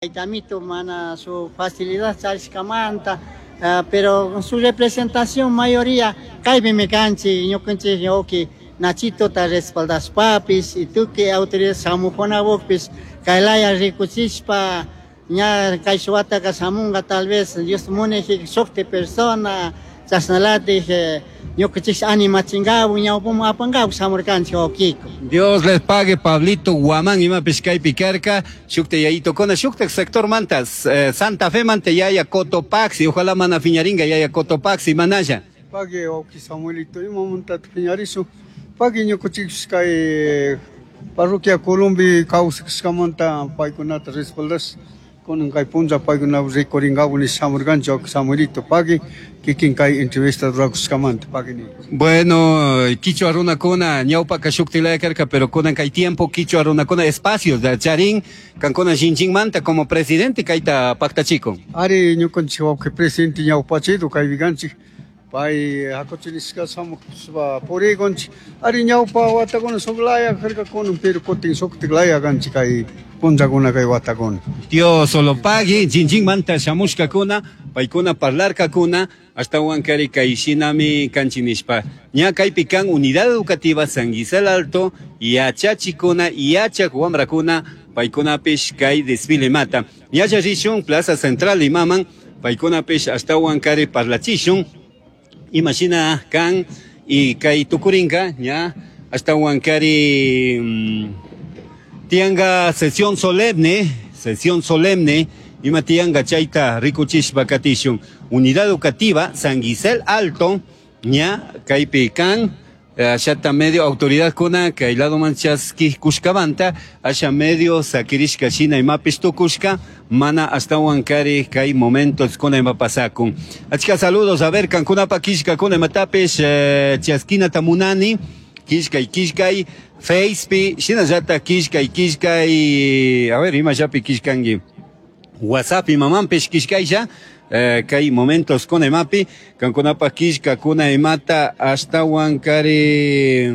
Tayta mana su facilidad charishkamanta, pero su representación mayoría kaypimi kanchik, ñukanchik wawki Nachitota respaldashpapish y tukuy autoridad shamukunapukpish kaylaya rikuchishpa ña kay wataka shamunga tal vez Dios munayjik shukti persona chashnalatik ñukanchik animachinkapak ñawpaman apankapak shamurkanchik wawkiko. Dios les pague, Pablito Guamán, imapish kaypi karka, shukta yayitokuna, shukta sector manta, Santa Fe manta yaya Cotopaxi, ojalá mana fiñaringa yaya Cotopaxi, manalla. Pagui wawki Samuelito, imamantata piñarishun. Pagui ñukanchikpish kay parroquia Columbi kawsashkamanta paykunata respaldash kunan kay punlla paykuna rikurinkapak nish shamurkanchik wawki Samuelito. Pagui kikin kay entrevista rurakushkamanta pagui ni. Bueno, kichwa runakuna ñawpaka shuktilaya karka, pero kunan kay tiempo kichwa runakuna espacios da charin kankuna shinchinkmanta como presidente kayta paktachikun. Ari ñukanchik wawki presidente ñawpachido kaypi kanchik pay hakuchinishka shamushpa purikunchik ari ñawpa watakuna shuk laya karka kunan pero kutin shuktik laya kanchik kay punllakuna kay watakuna. Dios solo pagui chinchinmanta shamushkakuna paykuna parlarkakuna ashtawan kari kay shinami kanchik nishpa. Ña kaypi kan unidad educativa San Gisel Alto yachachikuna yachak wamrakuna paykunapish kay desfile mata. Ñalla rishun Plaza Central imaman paykunapish ashtawan kari parlachishun imashina kan y kay tukurinka ña ashtawan kari tianga sesión solemne ima tianga chayta rikuchishpa katishun. Unidad educativa San Gisel Alto ña kaypi kan ashata medio autoridad kuna kay lado man chaski kushkamanta asha medio sakirishka shina imapish tukushka mana ashtawan kari kay momentos kuna ima pasakun. Achka saludos, a ver kankunapa kishka kuna imatapish chaskinata munani kishkay kishkay Facepi shinallata kishkay kishkay, a ver ima llapi kishkanki WhatsApp imamanpish kishkaylla. Kay momentos kuna imapi kankunapa kishka kuna imata ashtawan kari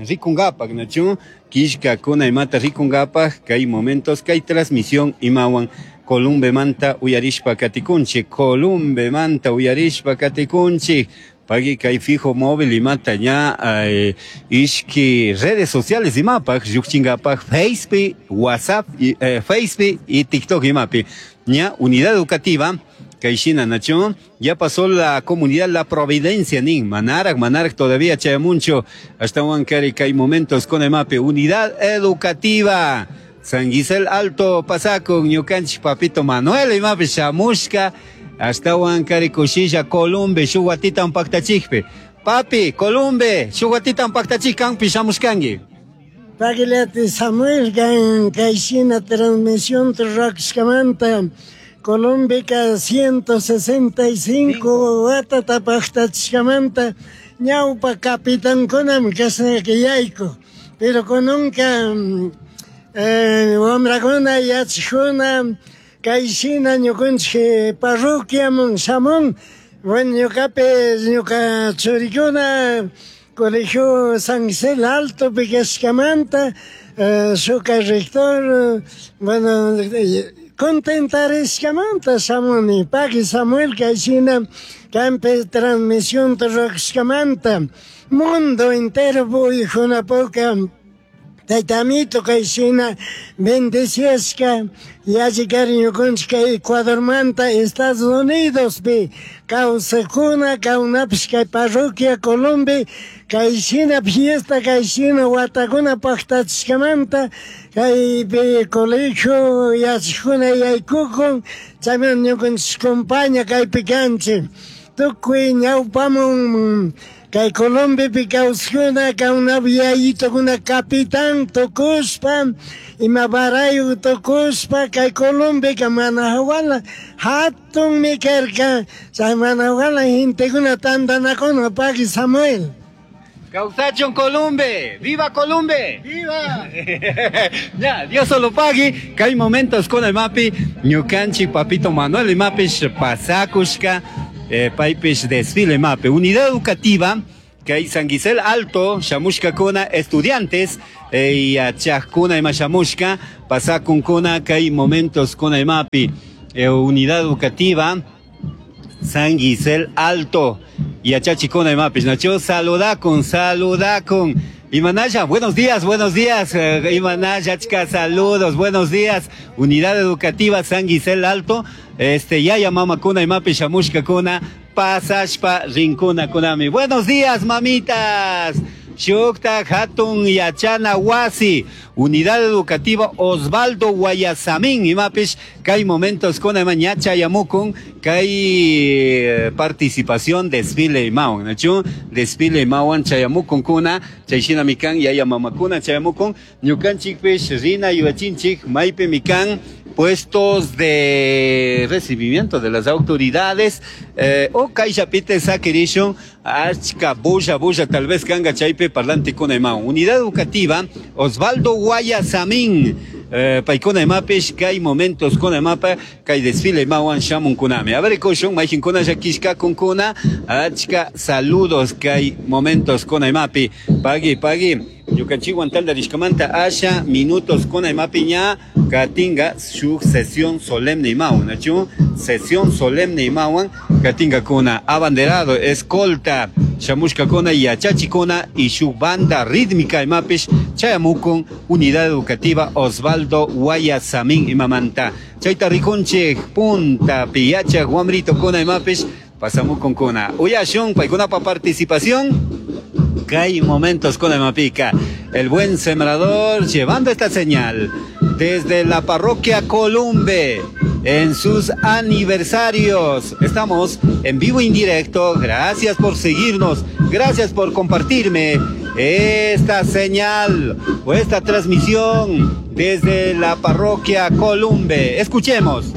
rikunkapak nachu kishka kuna imata rikunkapak kay momentos kay transmisión imawan Columbemanta uyarishpa katikunchik, Columbemanta uyarishpa katikunchik. Pagui kay fijo móvil imata ña ishki redes sociales imapak llukchinkapak Facebook, WhatsApp, y Facebook y TikTok imapi. Ña unidad educativa kay shina nachu ya pasó la comunidad La Providencia nin manarak manarak todavía chayamuncho ashtawan kari kay momentos con imapi unidad educativa San Gisel Alto pasakun ñukanchik papito Manuel imapi shamushka ashtawan kari kushilla Columbe shuk watitan paktachikpi. Papi, Columbe, shuk watitan paktachik kanpi shamushkanki. Pagilati Samuel kan kay shina transmisión rurakushkamanta Columbeka 165 watata paktachishkamanta ñawpa capitankunami kashnaka yayku. Pero kunanka wamrakuna yachakuna kay shina ñukanchik parroquiaman shamun. Bueno, ñukapi ñuka churikuna Colegio San Gisel Alto kashkamanta shuka rector, bueno, contentarishkamanta shamuni. Pagui Samuel kay shina kampi transmisión rurakushkamanta mundo entero puykunapuka Tayta Amito kay shina bendeciashka yalli kari ñukanchik kay Ecuadormanta Estados Unidospi kawsakuna kawnapish kay parroquia Columbe kay shina fiesta kay shina watakuna paktachishkamanta kaypi colegio yachakuna yaykukun chayman ñukanchik compañía kaypi kanchik tukuy ñawpamun kay Columbepi kawsakuna kawnapi yayitukuna capitán tukushpa ima barayu tukushpa kay Columbeka mana hawala hatunmi karka chay mana hawala gentekuna tantanakuna pagui Samuel. Kawsachun Columbe, ¡viva Columbe! ¡Viva! Ya, Dios solo pagui, kay momentos con el mapi, ñukanchik papito Manuel imapish pasakushka, paypish desfile mapi. Unidad educativa Kay San Gisel Alto shamushkakuna estudiantes yachajkuna ima shamushka pasakunkuna kay momentos kuna imapi unidad educativa San Gisel Alto yachachikuna imapish nachu saludakun saludakun Imanaya, buenos días, buenos días. Imanaya, chica, saludos, buenos días. Unidad Educativa San Gisel Alto. Yaya mama kuna imapi shamushka kuna pasashpa rinkuna kunami. Buenos días, mamitas. Shukta Hatun Yachana Wasi, Unidad Educativa Osvaldo Guayasamín, imapish, kay momentos kuna ima ñacha yamukun, kay participación desfile imawan, nachu? Desfile imawan chayamukun kuna, chayshina mikan, yaya mamakuna chayamukun, ñukanchikpish, rina yuachinchik, maypi mikan, puestos de recibimiento de las autoridades, o kayllapite sakirishun, achka bulla bulla tal vez kanga chaypi parlante kuna imawan. Unidad Educativa Osvaldo Guayasamín, paykuna imapish, kay momentos kuna imapa, kay desfile imawan shamun kunami. A ver, kushun, mayjin kuna llakishka kunkuna, achka saludos kay momentos kuna imapi. Pagui, pagui. Ñukanchikwan taldarishkamanta asha minutos kuna imapi ña katinga shuk sesión solemne imawan, nachu? Sesión solemne imawan katinga kuna abanderado, escolta, shamushka kuna yachachikuna y shuk banda rítmica imapish chayamukun Unidad Educativa Osvaldo Guayasamín imamanta. Chayta rikunchik punta piyacha guamrito kuna imapish pasamukun kuna. Uyashun paykunapa participación. Kay momentos con Mapica, el buen sembrador llevando esta señal desde la parroquia Columbe en sus aniversarios. Estamos en vivo e indirecto. Gracias por seguirnos, gracias por compartirme esta señal o esta transmisión desde la parroquia Columbe. Escuchemos.